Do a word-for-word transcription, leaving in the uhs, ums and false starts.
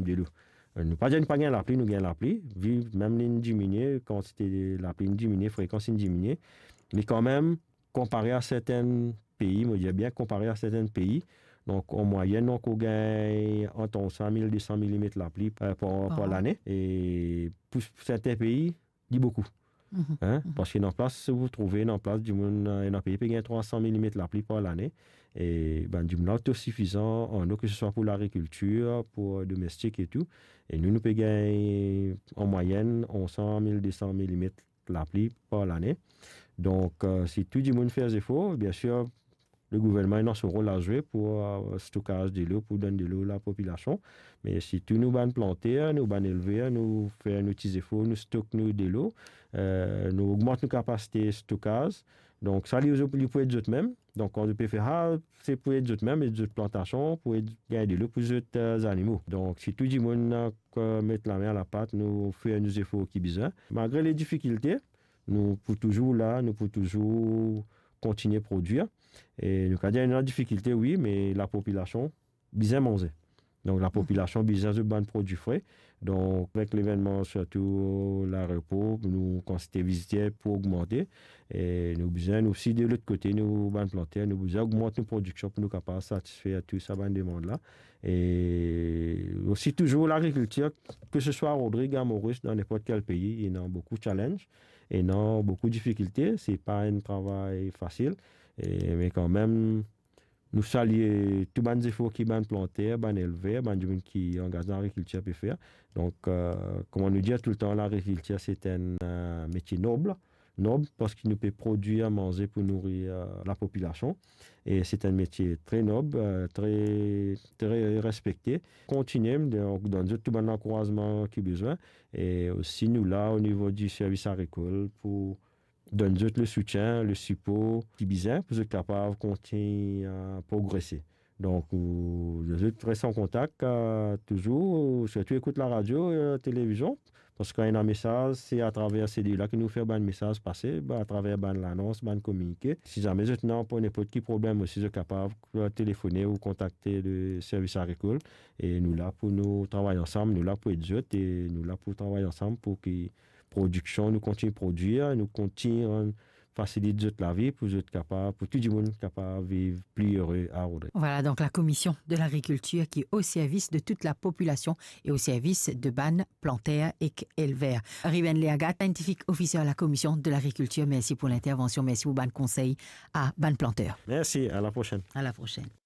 delo. Nou pa dir nou pa gagn lapli, nou gagn lapli. Vi mem li diminie, kantite lapli diminie, frekans diminie. Me kanmem, konpare a sertin pei, mo dir bien konpare a sertin pei, donk an mwayenn, donk ou gagn ant onz san, mil de san milimet lapli, euh, par, par lane. E pou sertin pei, li boukou. Hein? Parski ena plas, si ou trouve ena plas dimoun, euh, ena pei pe gagn trwa san milimet lapli par lane. E bann dimoun la otosifizan an dlo, ke se swa pou lagrikiltir, pou, euh, domestik e tou. E nou, nou pe gagn an mwayenn onz san, mil de san milimet lapli par lane. Donk, euh, si tou dimoun fer zefor, biensir, le gouvernman ena so rol a zwe pou, euh, stokaz delo, pou donn delo lapopilasion. Me si tou nou bann planter, nou bann elver, nou fer nou ti zefor, nou stok nou delo, euh, nou ogmant nou kapasite stokaz. Donk sa, li, li pou ed zot mem. Donk kan zot pe fer sa, se pou ed zot mem, ed zot plantasion, pou ed gagn delo pou zot, euh, zanimo. Donk si tou dimoun, euh, met lame a lapat, nou fer nou zefor ki bizin. Malgre le difikilte, nou pou touzour la, nou pou touzour kontigne prodwir. E nou kapav dir ena difikilte, wi, me lapopilasion bizin manze. Donk lapopilasion bizin zot bann prodwi fre. Donk avek levennman, sirtou laeropor, nou kantite viziter pou ogmante. E nou bizin, nou osi, de lot kote, nou bann planter, nou bizin ogmant nou prodiksion pou nou kapav satisfer tou sa bann demann la. E osi touzour lagrikiltir, ke se swa a Rodrig, a Moris, dan ninport kel pei, ena boukou challenge, ena boukou difikilte, se pa enn travay fasil. E, me kanmem, nou salie tou bann zefor ki bann planter, bann elver, bann dimoun ki angaz dan lagrikiltir pe fer. Donk, euh, kouma nou dir toultan, lagrikiltir se enn, euh, metie nob, nob parski nou pe prodwir manze pou nouri, euh, lapopilasion. E se enn metie tre nob, euh, tre, tre respekte. Kontigne, donk, donn zot tou bann lankourazman ki bizin. E osi nou la o nivo di servis agrikol pou donn zot le soutien, le sipor ki bizin pou zot kapav kontign, euh, progrese. Donk, ou, zot res an kontak, euh, touzour, sirtou ekout laradio, euh, televizion, parski kan ena mesaz, se atraver se de la ki nou fer bann mesaz pase, ba, atraver bann lanons, bann kominike. Si zame zot ena pou ninport ki problem osi, zot kapav, euh, telefone ou kontakte le servis agrikol. E nou la pou nou travay ansam, nou la pou ed zot e nou la pou travay ansam pou ki prodiksion, nou kontign prodwir, nou kontign fasilit zot lavi pou zot kapav, pou tou dimoun kapav viv pli ere a Rodrig. Voilà donc la commission de l'agriculture qui est au service de toute la population et au service de bann planter ek elver. Ruben Leagat, siantifik ofiser la commission de l'agriculture, merci pour l'intervention, merci pour bann konsey a bann planter. Merci, à la prochaine. À la prochaine.